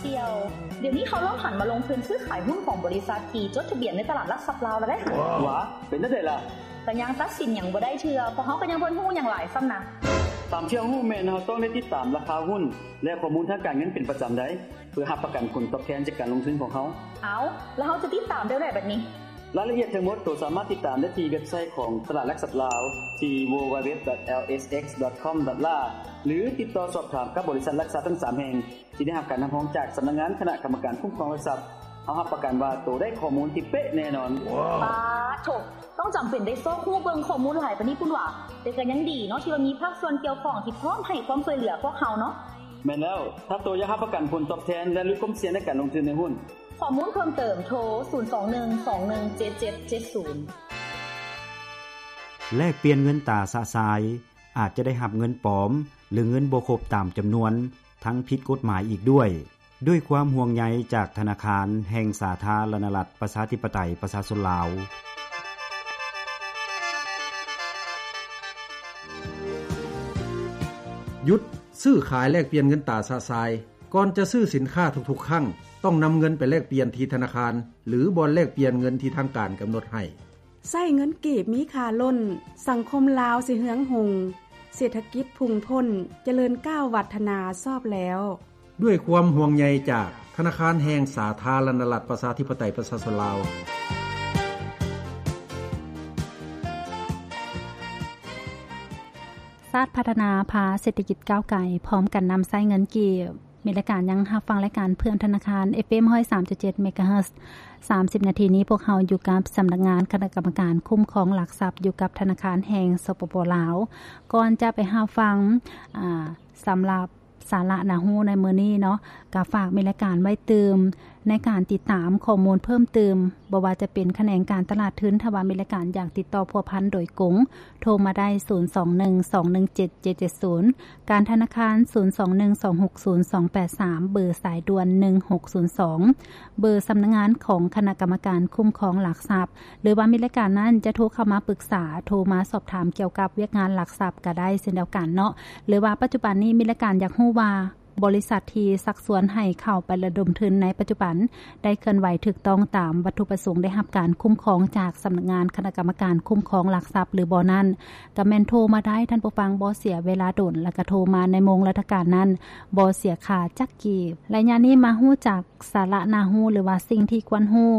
ດຽວ ດຽວນີ້ເຮົາລອງຫັນມາລົງທຶນຊື້ຂາຍຫຸ້ນຂອງບໍລິສັດທີ່ຈົດທະບຽນໃນຕະຫຼາດຫຼັກຊັບລາວແລ້ວເດ້. ຫວາ ເປັນຈັ່ງໃດລະ? ກະຍັງຕັດສິນຫຍັງບໍ່ໄດ້ເທື່ອ ເພາະເຮົາກະຍັງບໍ່ຮູ້ຫຍັງຫຼາຍຊ້ຳນະ. ຕາມທີ່ເຮົາຮູ້ແມ່ນເຮົາຕ້ອງໄດ້ຕິດຕາມລາຄາຫຸ້ນ ແລະ ຂໍ້ມູນທາງການເງິນເປັນປະຈຳໄດ໋ ເພື່ອຮັບປະກັນຜົນຕອບແທນຈາກການລົງທຶນຂອງເຮົາ. ເອົ້າ ແລ້ວເຮົາຈະຕິດຕາມແນວໃດບັດນີ້? ລາຍລະອຽດທັງໝົດໂຕສາມາດຕິດຕາມໄດ້ທີ່ເວັບໄຊຂອງຕະຫຼາດຫຼັກຊັບລາວ ທີ່ www.lsx.com.la ຫຼື ຕິດຕໍ່ສອບຖາມກັບບໍລິສັດຫຼັກຊັບທັງສາມແຫ່ງ ທີ່ໄດ້ຮັບການຮັບຮອງຈາກສຳນັກງານຄະນະກຳມະການຄຸ້ມຄອງຫຼັກຊັບ. ເຮົາຮັບປະກັນວ່າໂຕໄດ້ຂໍ້ມູນທີ່ເປະແນ່ນອນ. ປາໂທ້ ຕ້ອງຈຳເປັນໄດ້ຊອກຮູ້ເບິ່ງຂໍ້ມູນຫຼາຍປານນີ້ພຸ້ນຫວາ? ແຕ່ກະຍັງດີເນາະ ທີ່ວ່າມີພາກສ່ວນກ່ຽວຂ້ອງທີ່ພ້ອມໃຫ້ຄວາມຊ່ວຍເຫຼືອພວກເຮົາເນາະ. ແມ່ນແລ້ວ ຖ້າໂຕຢາກຮັບປະກັນຜົນຕອບແທນ ແລະ ຫຼຸດຄວາມສ່ຽງໃນການລົງທຶນໃນຫຸ້ນ. ຂໍ້ມູນເພີ່ມເຕີມໂທ ສູນສອງໜຶ່ງສອງໜຶ່ງເຈັດເຈັດເຈັດສູນ. ແລກປ່ຽນເງິນຕາຊະຊາຍ ອາດຈະໄດ້ຮັບເງິນປອມ ຫຼື ເງິນບໍ່ຄົບຕາມຈຳນວນ ທັງຜິດກົດໝາຍອີກດ້ວຍ. ດ້ວຍຄວາມຫ່ວງໃຍຈາກທະນາຄານແຫ່ງສາທາລະນະລັດ ປະຊາທິປະໄຕ ປະຊາຊົນລາວ. ຢຸດຊື້ຂາຍແລກປ່ຽນເງິນຕາຊະຊາຍ. ກ່ອນຈະຊື້ສິນຄ້າທຸກໆຄັ້ງ ຕ້ອງນຳເງິນໄປແລກປ່ຽນທີ່ທະນາຄານ ຫຼື ບ່ອນແລກປ່ຽນເງິນທີ່ທາງການກຳນົດໃຫ້. ໃຊ້ເງິນກີບມີຄ່າລົ້ນ, ສັງຄົມລາວຊິເຮືອງຮຸ່ງ, ເສດຖະກິດພຸ່ງພົ້ນ, ຈະເລີນກ້າວວັດທະນາຊອບແລ້ວ. ດ້ວຍຄວາມຫ່ວງໃຍຈາກທະນາຄານແຫ່ງສາທາລະນະລັດ ປະຊາທິປະໄຕ ປະຊາຊົນລາວ. ຊາດພັດທະນາພາເສດຖະກິດກ້າວໄກ ພ້ອມກັນນຳໃຊ້ເງິນກີບ. ມີລາຍການ ຍັງຮັບຟັງລາຍການເພື່ອນທະນາຄານ ເອັຟເອັມ ຮ້ອຍສາມຈຸດເຈັດ ເມກາເຮີດ. ສາມສິບນາທີນີ້ ພວກເຮົາຢູ່ກັບສຳນັກງານຄະນະກຳມະການຄຸ້ມຄອງຫຼັກຊັບ ຢູ່ກັບທະນາຄານແຫ່ງ ສປປ ລາວ. ກ່ອນຈະໄປຮັບຟັງ ອາ ສຳລັບສາລະໜ້າຮູ້ໃນມື້ນີ້ເນາະ ກະຝາກມີລາຍການໄວ້ຕື່ມ ໃນການຕິດຕາມຂໍ້ມູນເພີ່ມຕື່ມ ບໍ່ວ່າຈະເປັນຂະແໜງການຕະຫຼາດທຶນ ຖ້າວ່າມີລາຍການຢາກຕິດຕໍ່ພົວພັນໂດຍກົງ ໂທມາໄດ້ ສູນສອງໜຶ່ງສອງໜຶ່ງເຈັດເຈັດເຈັດສູນ, ການທະນາຄານ ສູນສອງໜຶ່ງສອງຫົກສູນສອງແປດສາມ ເບີສາຍດ່ວນ ໜຶ່ງຫົກສູນສອງ, ເບີສຳນັກງານຂອງຄະນະກຳມະການຄຸ້ມຄອງຫຼັກຊັບ ຫຼືວ່າມີລາຍການນັ້ນຈະໂທເຂົ້າມາປຶກສາ, ໂທມາສອບຖາມກ່ຽວກັບວຽກງານຫຼັກຊັບກະໄດ້ເຊັ່ນດຽວກັນເນາະ. ຫຼືວ່າປັດຈຸບັນນີ້ມີລາຍການຢາກຮູ້ວ່າ ບໍລິສັດທີ່ຊັກຊວນໃຫ້ເຂົ້າໄປລະດົມທຶນໃນປັດຈຸບັນ ໄດ້ເຄື່ອນໄຫວຖືກຕ້ອງຕາມວັດຖຸປະສົງ ໄດ້ຮັບການຄຸ້ມຄອງຈາກສຳນັກງານຄະນະກຳມະການຄຸ້ມຄອງຫຼັກຊັບ ຫຼືບໍ່ນັ້ນ ກະແມ່ນໂທມາໄດ້ ທ່ານຜູ້ຟັງ ບໍ່ເສຍເວລາດົນ ແລະກະໂທມາໃນໂມງລາຊະການນັ້ນ ບໍ່ເສຍຄ່າຈັກກີບ. ໄລຍະນີ້ມາຮູ້ຈັກສາລະໜ້າຮູ້ ຫຼືວ່າສິ່ງທີ່ຄວນຮູ້.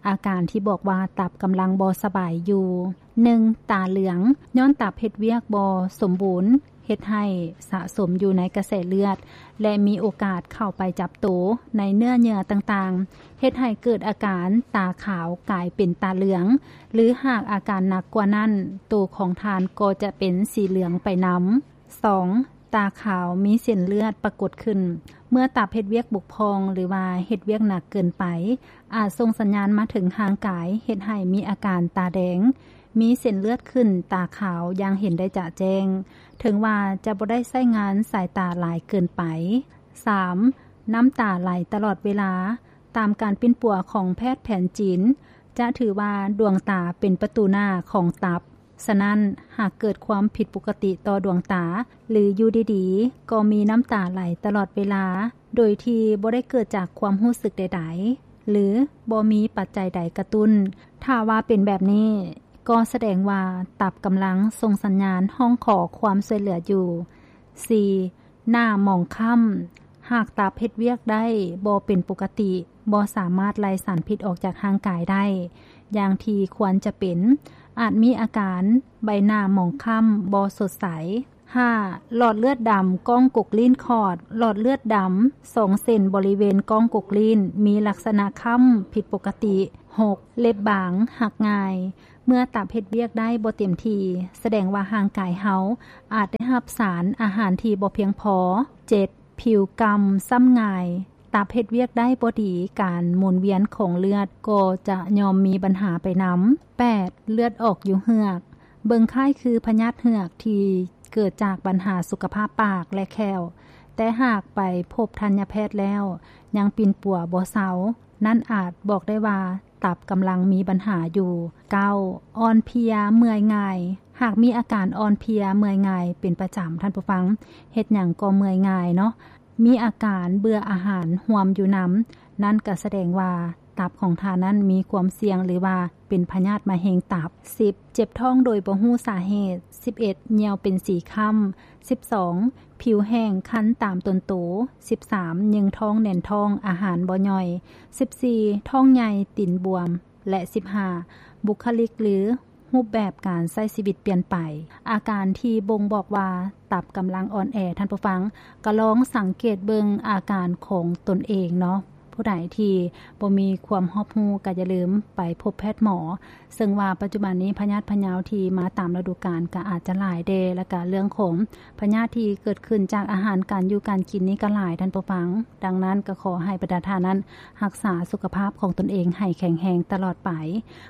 ອາການທີ່ບອກວ່າຕັບກຳລັງບໍ່ສະບາຍຢູ່. ໜຶ່ງ, ຕາເຫຼືອງ, ຍ້ອນຕັບເຮັດວຽກບໍ່ສົມບູນ ເຮັດໃຫ້ສະສົມຢູ່ໃນກະແສເລືອດ ແລະ ມີໂອກາດເຂົ້າໄປຈັບໂຕໃນເນື້ອເຍື່ອຕ່າງໆ ເຮັດໃຫ້ເກີດອາການຕາຂາວກາຍເປັນຕາເຫຼືອງ ຫຼື ຫາກອາການໜັກກວ່ານັ້ນ ໂຕຂອງທ່ານກໍຈະເປັນສີເຫຼືອງໄປນຳ. ສອງ, ຕາຂາວມີເສັ້ນເລືອດປາກົດຂຶ້ນ. ເມື່ອຕັບເຮັດວຽກບົກຜ່ອງ ຫຼືວ່າເຮັດວຽກໜັກເກີນໄປ ອາດສົ່ງສັນຍານມາເຖິງຮ່າງກາຍ ເຮັດໃຫ້ມີອາການຕາແດງ, ມີເສັ້ນເລືອດຂຶ້ນ, ຕາຂາວຢ່າງເຫັນໄດ້ຈະແຈ້ງ ເຖິງວ່າຈະບໍ່ໄດ້ໃຊ້ງານສາຍຕາຫຼາຍເກີນໄປ. ສາມ, ນ້ຳຕາໄຫຼຕະຫຼອດເວລາ. ຕາມການປິ່ນປົວຂອງແພດແຜນຈີນ ຈະຖືວ່າດວງຕາເປັນປະຕູໜ້າຂອງຕັບ. ສະນັ້ນ, ຫາກເກີດຄວາມຜິດປົກກະຕິຕໍ່ດວງຕາ ຫຼື ຢູ່ດີໆ ກໍມີນ້ຳຕາໄຫຼຕະຫຼອດເວລາ ໂດຍທີ່ບໍ່ໄດ້ເກີດຈາກຄວາມຮູ້ສຶກໃດໆ ຫຼື ບໍ່ມີປັດໄຈໃດກະຕຸ້ນ, ຖ້າວ່າເປັນແບບນີ້ ກໍສະແດງວ່າຕັບກຳລັງສົ່ງສັນຍານຮ້ອງຂໍຄວາມຊ່ວຍເຫຼືອຢູ່. ສີ່, ໜ້າໝອງຄ້ຳ. ຫາກຕັບເຮັດວຽກໄດ້ບໍ່ເປັນປົກກະຕິ, ບໍ່ສາມາດໄລ່ສານພິດອອກຈາກຮ່າງກາຍໄດ້ຢ່າງທີ່ຄວນຈະເປັນ, ອາດມີອາການໃບໜ້າໝອງຄ້ຳ, ບໍ່ສົດໃສ. ຫ້າ, ຫຼອດເລືອດດຳກ້ອງກົກລີ້ນຂອດ. ຫຼອດເລືອດດຳສອງເສັ້ນບໍລິເວນກ້ອງກົກລີ້ນ ມີລັກສະນະຄ້ຳຜິດປົກກະຕິ. ຫົກ, ເລັບບາງ, ຫັກງ່າຍ. ເມື່ອຕັບເຮັດວຽກໄດ້ບໍ່ເຕັມທີ່, ສະແດງວ່າຮ່າງກາຍເຮົາອາດໄດ້ຮັບສານອາຫານທີ່ບໍ່ພຽງພໍ. ເຈັດ, ຜິວກຳຊ້ຳງ່າຍ. ຕັບເຮັດວຽກໄດ້ບໍ່ດີ, ການໝູນວຽນຂອງເລືອດກໍຈະຍ່ອມມີບັນຫາໄປນຳ. ແປດ, ເລືອດອອກຢູ່ເຫືອກ. ເບິ່ງຄ້າຍຄືພະຍາດເຫືອກທີ່ເກີດຈາກບັນຫາສຸຂະພາບປາກ ແລະ ແຂ້ວ, ແຕ່ຫາກໄປພົບທັນຍະແພດແລ້ວ ຍັງປິ່ນປົວບໍ່ເຊົາ, ນັ້ນອາດບອກໄດ້ວ່າ ຕັບກຳລັງມີບັນຫາຢູ່. ເກົ້າ, ອ່ອນເພຍເມື່ອຍງ່າຍ. ຫາກມີອາການອ່ອນເພຍເມື່ອຍງ່າຍເປັນປະຈຳ, ທ່ານຜູ້ຟັງ, ເຮັດຫຍັງກໍເມື່ອຍງ່າຍເນາະ. ມີອາການເບື່ອອາຫານຮ່ວມຢູ່ນຳ, ນັ້ນກໍສະແດງວ່າຕັບຂອງທ່ານນັ້ນມີຄວາມສ່ຽງ ຫຼືວ່າເປັນພະຍາດມະເຮັງຕັບ. ສິບ, ເຈັບທ້ອງໂດຍບໍ່ຮູ້ສາເຫດ. ສິບເອັດ, ຍ່ຽວເປັນສີຄ້ຳ. ສິບສອງ, ຜິວແຫ້ງຄັນຕາມຕົນໂຕ. ສິບສາມ, ຍຶງທ້ອງແໜ້ນທ້ອງ, ອາຫານບໍ່ຍ່ອຍ. ສິບສີ່, ທ້ອງໃຫຍ່ ຕີນບວມ. ແລະ ສິບຫ້າ, ບຸກຄະລິກ ຫຼື ຮູບແບບການໃຊ້ຊີວິດປ່ຽນໄປ. ອາການທີ່ບົ່ງບອກວ່າຕັບກຳລັງອ່ອນແອ, ທ່ານຜູ້ຟັງ ກໍລອງສັງເກດເບິ່ງອາການຂອງຕົນເອງເນາະ. ຜູ້ໃດທີ່ບໍ່ມີຄວາມຮອບຮູ້ ກໍຢ່າລືມໄປພົບແພດໝໍ, ເຊິ່ງວ່າປັດຈຸບັນນີ້ພະຍາດພະເຍົາທີ່ມາຕາມລະດູການກໍອາດຈະຫຼາຍແດ່, ແລ້ວກໍເລື່ອງຂອງພະຍາດທີ່ເກີດຂຶ້ນຈາກອາຫານການຢູ່ການກິນນີ້ກໍຫຼາຍ, ທ່ານຜູ້ຟັງ. ດັ່ງນັ້ນກໍຂໍໃຫ້ບັນດາທ່ານນັ້ນ ຮັກສາສຸຂະພາບຂອງຕົນເອງໃຫ້ແຂງແຮງຕະຫຼອດໄປ.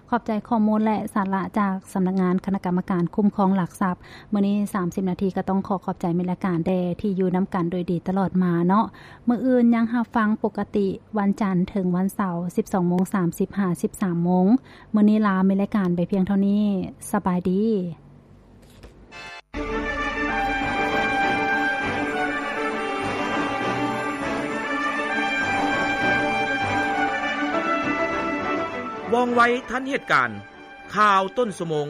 ຂອບໃຈຂໍ້ມູນ ແລະ ສາລະຈາກສຳນັກງານຄະນະກຳມະການຄຸ້ມຄອງຫຼັກຊັບ. ມື້ນີ້ສາມສິບນາທີກໍຕ້ອງຂໍຂອບໃຈມິດລາຍການແດ່ທີ່ຢູ່ນຳກັນໂດຍດີຕະຫຼອດມາເນາະ. ມື້ອື່ນຍັງຮັບຟັງປົກກະຕິ ວັນຈັນເຖິງວັນເສົາ ສິບສອງໂມງສາມສິບ ຫາ ສິບສາມໂມງ. ມື້ນີ້ລາມິດລາຍການໄປພຽງເທົ່ານີ້. ສະບາຍດີ. ວ່ອງໄວທັນເຫດການ, ຂ່າວຕົ້ນຊົ່ວໂມງ.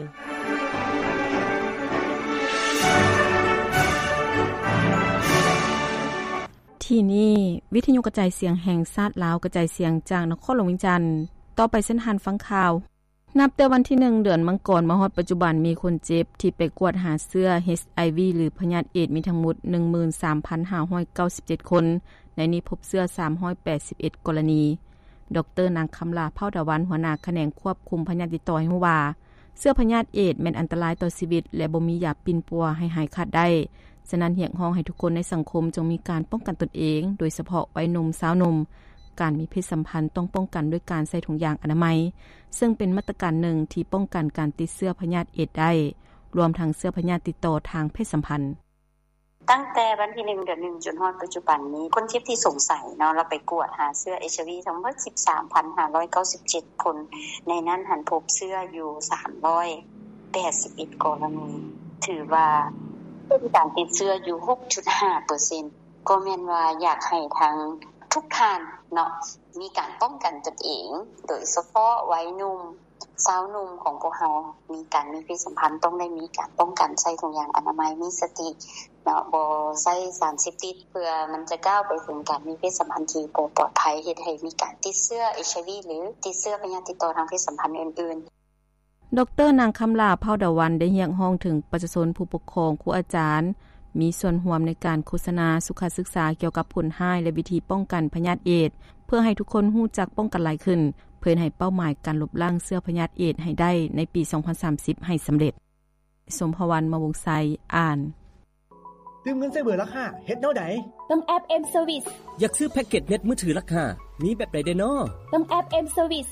ທີ່ນີ້ ວິທະຍຸກະຈາຍສຽງແຫ່ງຊາດລາວ ກະຈາຍສຽງຈາກນະຄອນຫຼວງວຽງຈັນ. ຕໍ່ໄປເຊີນທ່ານຟັງຂ່າວ. ນັບແຕ່ວັນທີໜຶ່ງ ເດືອນມັງກອນ ມາຮອດປັດຈຸບັນ ມີຄົນເຈັບທີ່ໄປກວດຫາເຊື້ອ ເອດສ໌ ຫຼື ພະຍາດເອດສ໌ ມີທັງໝົດ ໜຶ່ງໝື່ນສາມພັນຫ້າຮ້ອຍເກົ້າສິບເຈັດຄົນ, ໃນນີ້ພົບເຊື້ອ ສາມຮ້ອຍແປດສິບເອັດ ກໍລະນີ. ດອກເຕີ ນາງ ຄຳຫຼາ ເຜົ່າດາວັນ ຫົວໜ້າຂະແໜງຄວບຄຸມພະຍາດຕິດຕໍ່ ໃຫ້ຮູ້ວ່າ ເຊື້ອພະຍາດເອດສ໌ ແມ່ນອັນຕະລາຍຕໍ່ຊີວິດ ແລະ ບໍ່ມີຢາປິ່ນປົວໃຫ້ຫາຍຂາດໄດ້. ສະນັ້ນ ຮຽກຮ້ອງໃຫ້ທຸກຄົນໃນສັງຄົມຈົ່ງມີການປ້ອງກັນຕົນເອງ, ໂດຍສະເພາະໄວໜຸ່ມ, ຊາວໜຸ່ມ. ການມີເພດສຳພັນຕ້ອງປ້ອງກັນດ້ວຍການໃສ່ຖົງຢາງອະນາໄມ, ເຊິ່ງເປັນມາດຕະການໜຶ່ງທີ່ປ້ອງກັນການຕິດເຊື້ອພະຍາດເອດສ໌ໄດ້, ລວມທັງເຊື້ອພະຍາດຕິດຕໍ່ທາງເພດສຳພັນ. ຕັ້ງແຕ່ວັນທີໜຶ່ງ ເດືອນໜຶ່ງ ຈົນຮອດປັດຈຸບັນນີ້, ຄົນເຈັບທີ່ສົງໄສເນາະ, ລາວໄປກວດຫາເຊື້ອ ເອດສ໌ ທັງໝົດ ສິບສາມພັນຫ້າຮ້ອຍເກົ້າສິບເຈັດຄົນ, ໃນນັ້ນຫັ້ນພົບເຊື້ອຢູ່ ສາມຮ້ອຍແປດສິບເອັດ ກໍລະນີ, ຖືວ່າເປັນການຕິດເຊື້ອຢູ່ ຫົກຈຸດຫ້າເປີເຊັນ. ກໍແມ່ນວ່າຢາກໃຫ້ທາງທຸກທ່ານເນາະ ມີການປ້ອງກັນຕົນເອງ, ໂດຍສະເພາະໄວໜຸ່ມ, ຊາວໜຸ່ມຂອງພວກເຮົາ ມີການມີເພດສຳພັນ ຕ້ອງໄດ້ມີການປ້ອງກັນ, ໃສ່ຖົງຢາງອະນາໄມ, ມີສະຕິເນາະ, ບໍ່ໃຊ້ສານເສບຕິດ ເພື່ອມັນຈະກ້າວໄປເຖິງການມີເພດສຳພັນທີ່ບໍ່ປອດໄພ, ເຮັດໃຫ້ມີການຕິດເຊື້ອ ເອດສ໌ ຫຼື ຕິດເຊື້ອພະຍາດຕິດຕໍ່ທາງເພດສຳພັນອື່ນໆ. ດອກເຕີ ນາງ ຄຳຫຼາ ເຜົ່າດາວັນ ໄດ້ຮຽກຮ້ອງເຖິງປະຊາຊົນ, ຜູ້ປົກຄອງ, ຄູອາຈານ ມີສ່ວນຮ່ວມໃນການໂຄສະນາສຸຂະສຶກສາກ່ຽວກັບຜົນຮ້າຍ ແລະ ວິທີປ້ອງກັນພະຍາດເອດສ໌ ເພື່ອໃຫ້ທຸກຄົນຮູ້ຈັກປ້ອງກັນຫຼາຍຂຶ້ນ, ເພື່ອເຮັດໃຫ້ເປົ້າໝາຍການລົບລ້າງເຊື້ອພະຍາດເອດສ໌ໃຫ້ໄດ້ໃນປີສອງພັນສາມສິບໃຫ້ສຳເລັດ. ສົມພະວັນ ມະວົງໄຊ ອ່ານ. ຕື່ມເງິນໃສ່ເບີລາຄາ ເຮັດແນວໃດ? ຕ້ອງແອັບ M Service. ຢາກຊື້ແພັກເກັດເນັດມືຖືລາຄາ ມີແບບໃດແດ່ນໍ? ຕ້ອງແອັບ M Service.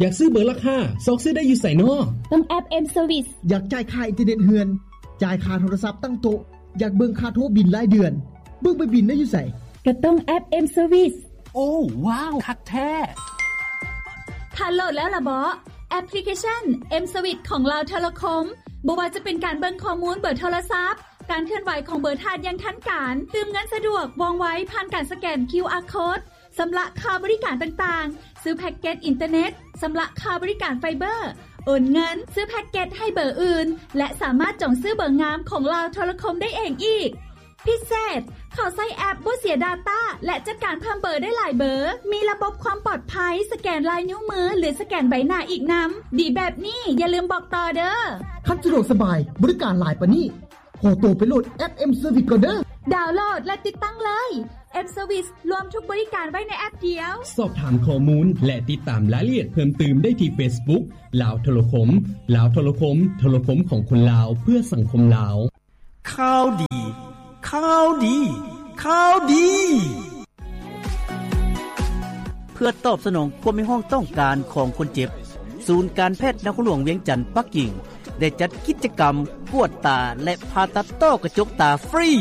ຢາກຊື້ເບີລາຄາ ຊອກຊື້ໄດ້ຢູ່ໃສນໍ? ຕ້ອງແອັບ M Service. ຢາກຈ່າຍຄ່າອິນເຕີເນັດເຮືອນ, ຈ່າຍຄ່າໂທລະສັບຕັ້ງໂຕະ, ຢາກເບິ່ງຄ່າໂທບິນລາຍເດືອນ, ເບິ່ງໃບບິນໄດ້ຢູ່ໃສ? ກໍຕ້ອງແອັບ M Service. ໂອ້ ວ້າວ ຄັກແທ້! ທ່ານໂຫຼດແລ້ວລະເບາະ ແອັບພລິເຄຊັນ M Service ຂອງລາວໂທລະຄົມ? ບໍ່ວ່າຈະເປັນການເບິ່ງຂໍ້ມູນເບີໂທລະສັບ, ການເຄື່ອນໄຫວຂອງເບີທ່ານຢ່າງທັນການ, ຕື່ມເງິນສະດວກ, ວ່ອງໄວ, ຜ່ານການສະແກນ ຄິວອາ ໂຄດ, ຊຳລະຄ່າບໍລິການຕ່າງໆ, ຊື້ແພັກເກັດອິນເຕີເນັດ, ຊຳລະຄ່າບໍລິການໄຟເບີ, ໂອນເງິນ, ຊື້ແພັກເກັດໃຫ້ເບີອື່ນ ແລະ ສາມາດຈອງຊື້ເບີງາມຂອງລາວໂທລະຄົມໄດ້ເອງອີກ. ພິເສດ, ເຂົ້າໃຊ້ແອັບບໍ່ເສຍດາຕ້າ ແລະ ຈັດການເພີ່ມເບີໄດ້ຫຼາຍເບີ, ມີລະບົບຄວາມປອດໄພ, ສະແກນລາຍນິ້ວມື ຫຼື ສະແກນໃບໜ້າອີກນຳ. ດີແບບນີ້ ຢ່າລືມບອກຕໍ່ເດີ້. ຄັນສະດວກສະບາຍ, ບໍລິການຫຼາຍປານນີ້, ຂໍໂຕໄປໂຫຼດແອັບ M Service ກ່ອນເດີ້. ດາວໂຫຼດ ແລະ ຕິດຕັ້ງເລີຍ. M Service ລວມທຸກບໍລິການໄວ້ໃນແອັບດຽວ. ສອບຖາມຂໍ້ມູນ ແລະ ຕິດຕາມລາຍລະອຽດເພີ່ມຕື່ມໄດ້ທີ່ Facebook ລາວໂທລະຄົມ, ລາວໂທລະຄົມ, ໂທລະຄົມຂອງຄົນລາວ ເພື່ອສັງຄົມລາວ. ຂ່າວດີ, ຂ່າວດີ, ຂ່າວດີ! ເພື່ອຕອບສະໜອງຄວາມຮຽກຮ້ອງຕ້ອງການຂອງຄົນເຈັບ, ສູນການແພດນະຄອນຫຼວງວຽງຈັນ ປັກກິ່ງ ໄດ້ຈັດກິດຈະກຳກວດຕາ ແລະ ຜ່າຕັດຕ້ອກະຈົກຕາຟຣີ,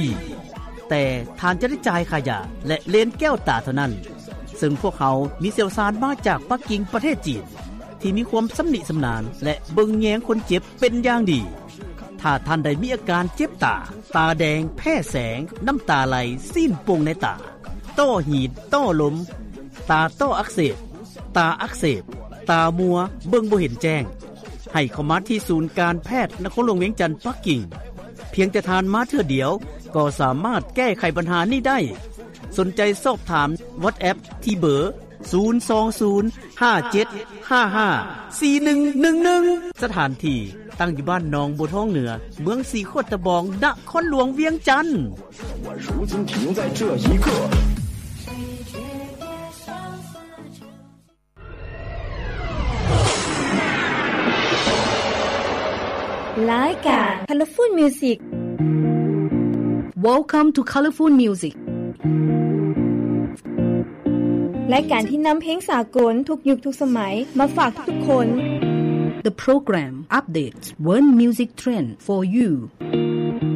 ແຕ່ທ່ານຈະໄດ້ຈ່າຍຄ່າຢາ ແລະ ເລນແກ້ວຕາເທົ່ານັ້ນ. ເຊິ່ງພວກເຮົາມີຊ່ຽວຊານມາຈາກປັກກິ່ງ ປະເທດຈີນ ທີ່ມີຄວາມຊຳນິຊຳນານ ແລະ ເບິ່ງແຍງຄົນເຈັບເປັນຢ່າງດີ. ຖ້າທ່ານໃດມີອາການເຈັບຕາ, ຕາແດງ, ແພ້ແສງ, ນ້ຳຕາໄຫຼ, ຊີ້ນປົ່ງໃນຕາ, ຕໍ່ຫີນ, ຕໍ່ລົມ, ຕາຕໍ່ອັກເສບ, ຕາອັກເສບ, ຕາມົວ, ເບິ່ງບໍ່ເຫັນແຈ້ງ, ໃຫ້ເຂົ້າມາທີ່ສູນການແພດນະຄອນຫຼວງວຽງຈັນ ປັກກິ່ງ. ພຽງແຕ່ທ່ານມາເທື່ອດຽວ ກໍສາມາດແກ້ໄຂບັນຫານີ້ໄດ້. ສົນໃຈສອບຖາມ WhatsApp ທີ່ເບີ ສູນສອງສູນ ຫ້າເຈັດຫ້າຫ້າ ສີ່ໜຶ່ງໜຶ່ງໜຶ່ງ. ສະຖານທີ່ຕັ້ງຢູ່ບ້ານໜອງບົວທອງເໜືອ, ເມືອງສີໂຄດຕະບອງ, ນະຄອນຫຼວງວຽງຈັນ. ລາຍການ Colorful Music. Welcome to Colorful Music. ລາຍການທີ່ນຳເພງສາກົນທຸກຍຸກທຸກສະໄໝມາຝາກທຸກໆຄົນ. The program updates world music trend for you.